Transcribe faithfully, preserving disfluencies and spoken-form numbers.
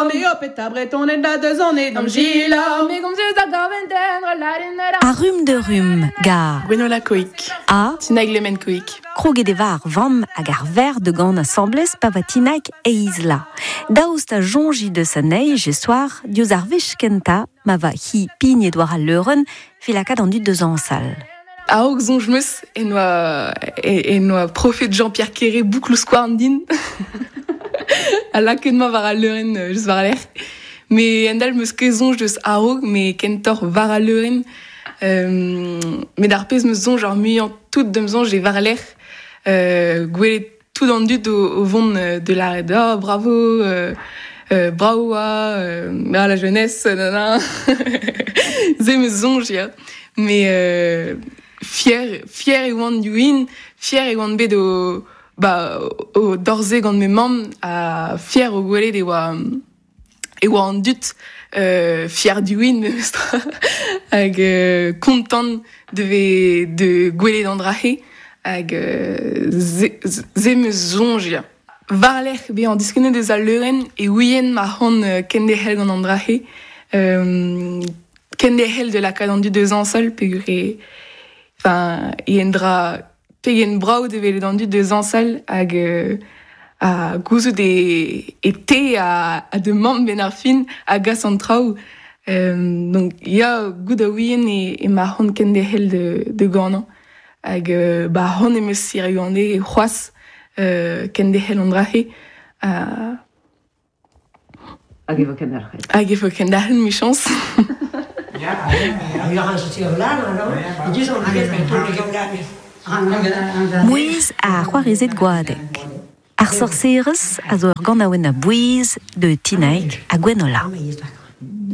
A rum de rum, ga Gwenola Koik. A Tinaig Lemen Koik. Kroget e var vamm hag ar ver de gant asambles pa va Tinaig eizla. Daoust a jonji deus anezhi je soar diouzh ar wech kentañ ma va hi pignet war al leurenn filakad an dud deus añsal. A-raok soñj 'm eus en oa, en oa profet Jean-Pierre Quéré boukloù skouarn din. A lakaet ma war al leurenn just war lec'h. Me endal 'm eus ket soñj deus a-raok, me kentoc'h war al leurenn. Euh, met ar pezh 'm eus soñj ar muiañ tout d'am soñj e war lec'h. Euh, gwelet tout an dud o, o vont de la oh, bravo, euh, euh, bravo euh, ah, la jeunesse, nanana. Se 'm eus soñj, ya. Mais euh, fier, fier e oan diouin, fier e oan bet o, ba, o dorze gant me mamm, ha fier o gwelet e oa, e oa an dud euh, fier diouin memestra hag euh, kontant de ve, de gwelet an drahe hag euh, ze, ze 'm eus soñj, ya. War-lerc'h bezañ diskennet eus al leurenn e ouien ma c'hoant euh, kenderc'hel gant an drahe. Euh, kenderc'hel de lakaat an dud deus añsal peogwir e enfin, e en dra pegen brav de welet an dud deus añsal hag euh, a gouzout e, e te a, a de mamm ben ar fin a gas an traoù. Euh, donc ya goût a ouien e, e ma c'hoant kenderc'hel de, de ganañ. Hag euh, ba c'hoant em eus siriu an e c'hoazh euh, kenderc'hel an drahe. Uh, Hag e vo kenderc'hel. Hag e vo kenderc'hel, michañs. Mouezh ar c'hoarezed Goadeg. Ar sorserez a zo ur ganaouenn a bouez de Tinaig ha Gwenola.